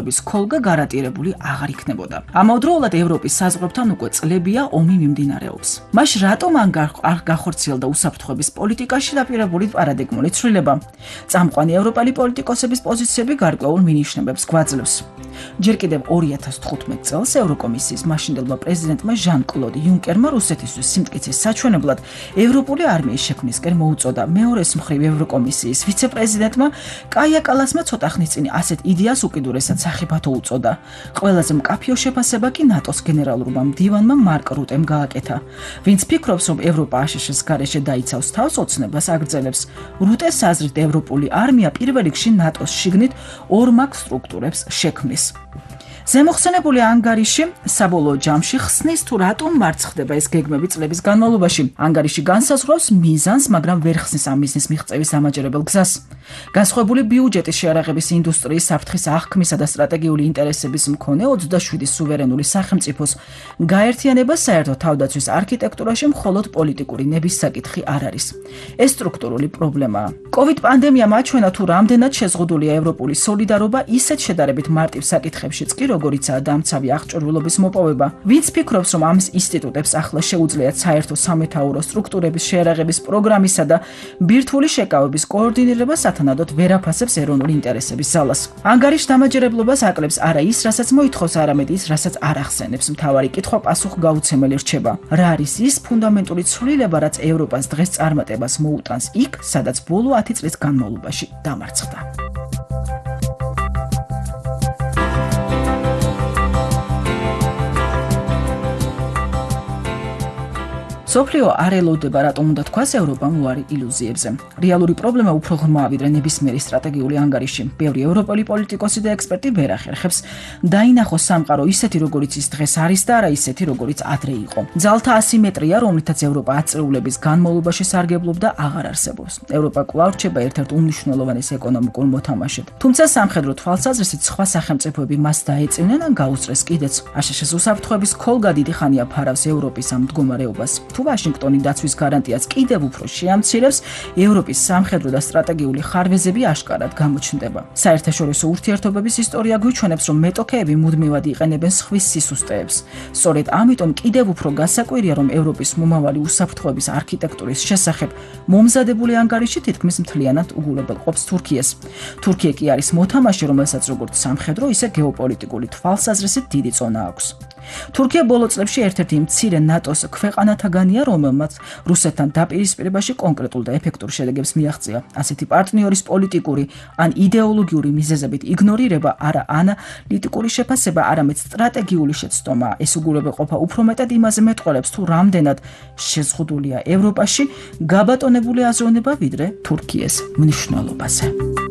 ქოლგა გარანტირებული აღარ იქნებოდა. ამავდროულად ევროპის საზღვრებთან უკვე წლებია ომი მიმდინარეობს. მაშ რატომ არ გახორციელდა უსაფრთხოების პოლიტიკაში დაპირებული პარადიგმული ცვლილება? წამყვანი ევროპელი პოლიტიკოსების პოზიციები გარკვეულ მინიშნებებს გვაძლევს. ჯერ კიდევ 2015 წელს ევროკომისიის მაშინდელმა პრეზიდენტმა ჟან-კლოდ იუნკერმა რუსეთისთვის სიმტკიცის საჩვენებლად ევროპული არმიის შექმნისკენ მოუწოდა. მეორეს მხრივ ევროკომისიის ვიცე-პრეზიდენტმა კაია კალასმა ცოტა ხნის წინ ასეთ იდეას უკიდურესად სახიფათო უწოდა. ყველაზე მკაფიო შეფასება კი ნატოს გენერალურმა მდივანმა მარკ რუტემ გააკეთა. ვინც ფიქრობს, რომ ევროპა აშშ-ის გარეშე დაიცავს თავს, ოცნებას აგრძელებს. რუტეს აზრით ევროპული არმია პირველ რიგში ნატოს შიგნით ორმაგ სტრუქტურებს შექმნის. ზემოხსენებული ანგარიში საბოლოო ჯამში ხსნის თუ რატომ მარცხდება ეს გეგმები წლების განმავლობაში. ანგარიში განსაზღვრავს მიზანს, მაგრამ ვერ ხსნის ამ მიზნის მიღწევის ამაჯერებელ გზას. განსხვავებული ბიუჯეტის შეარაღების ინდუსტრიის საფრთხის აღქმისა და სტრატეგიული ინტერესების მქონე 27 სუვერენული სახელმწიფოს გაერთიანება საერთო თავდაცვის არქიტექტურაში მხოლოდ პოლიტიკური ნების საკითხი არ არის. ეს სტრუქტურული პრობლემაა. COVID პანდემიამ აჩვენა თუ რამდენად შეზღუდულია ევროპული სოლიდარობა ისეთ შედარებით მარტივ საკითხებშიც კი როგორიცაა დამცავი აღჭურვილობის მოპოვება. ვინც ფიქრობს, რომ ამ ინსტიტუტებს ახლა შეუძლიათ საერთო სამეთაურო სტრუქტურების შეარაღების პროგრამისა და ბირთვული შეკავების კოორდინირება სათანადოდ ვერ აფასებს ეროვნული ინტერესების ზალას. ანგარიშ დამაჯერებლობას აკლებს არა ის, რასაც მოითხოვს, არამედ ის, რასაც არ ახსენებს. მთავარი კითხვა პასუხგაუცემელი რჩება. რა არის ის ფუნდამენტური ცვლილება, რაც ევროპას დღეს წარმატებას მოუტანს იქ, სადაც ბოლო 10 წლის განმავლობაში დამარცხდა. სოფლიო არ ელოდება, რატომ უნდა თქვას ევროპამ უარი ილუზიებზე. რეალური პრობლემა უფრო ღრმაა, ვიდრე ნებისმიერი სტრატეგიული ანგარიში. ბევრი ევროპელი პოლიტიკოსი და ექსპერტი ვერ ახერხებს დაინახოს სამყარო ისეთი, როგორიც ის დღეს არის და არა ისეთი, როგორიც ადრე იყო. ძალთა ასიმეტრია, რომლითაც ევროპა აწეულების განმავლობაში სარგებლობდა, აღარ არსებობს. ევროპა კვლავ რჩება ერთ-ერთ უმნიშვნელოვანეს ეკონომიკურ მოთამაშედ. თუმცა სამხედრო თვალსაზრისით სხვა სახელმწიფოები მას დაეწევნენ ან გაუსწრეს კიდეც. აშშ-ის უსაფრთხოების ქოლგა დიდი ხანია ფარავს ევროპის ამ მდგომარეობას. ვაშინგტონი დაცვის გარანტიას კიდევ უფრო შეამცირებს, ევროპის სამხედრო და სტრატეგიული ხარვეზები აშკარად გამოჩნდება. საერთაშორისო ურთიერთობების ისტორია გვიჩვენებს, რომ მეტოქეები მუდმივად იყენებენ სხვის სისუსტეებს. სწორედ ამიტომ კიდევ უფრო გასაკვირია, რომ ევროპის მომავალი უსაფრთხოების არქიტექტურის შესახებ მომზადებული ანგარიში თითქმის მთლიანად უგულებელყოფს თურქიას. თურქია კი არის მოთამაშე, რომელსაც როგორც სამხედრო, ისე გეოპოლიტიკური თვალსაზრისით დიდი წონა აქვს. თურქია ბოლო წლებში ერთ-ერთი მცირე ნატოს ქვეყანათაგანია, რომელმაც რუსეთთან დაპირისპირებაში კონკრეტულ და ეფექტურ შედეგებს მიაღწია. ასეთი პარტნიორის პოლიტიკური ან იდეოლოგიური მიზეზებით იგნორირება არა ანალიტიკური შეფასება, არამედ სტრატეგიული შეცდომაა. ეს უგულებელყოფა უფრო მეტად იმაზე მეტყველებს, თუ რამდენად შეზღუდულია ევროპაში გაბატონებული აზროვნება, ვიდრე თურქიის მნიშვნელობაზე.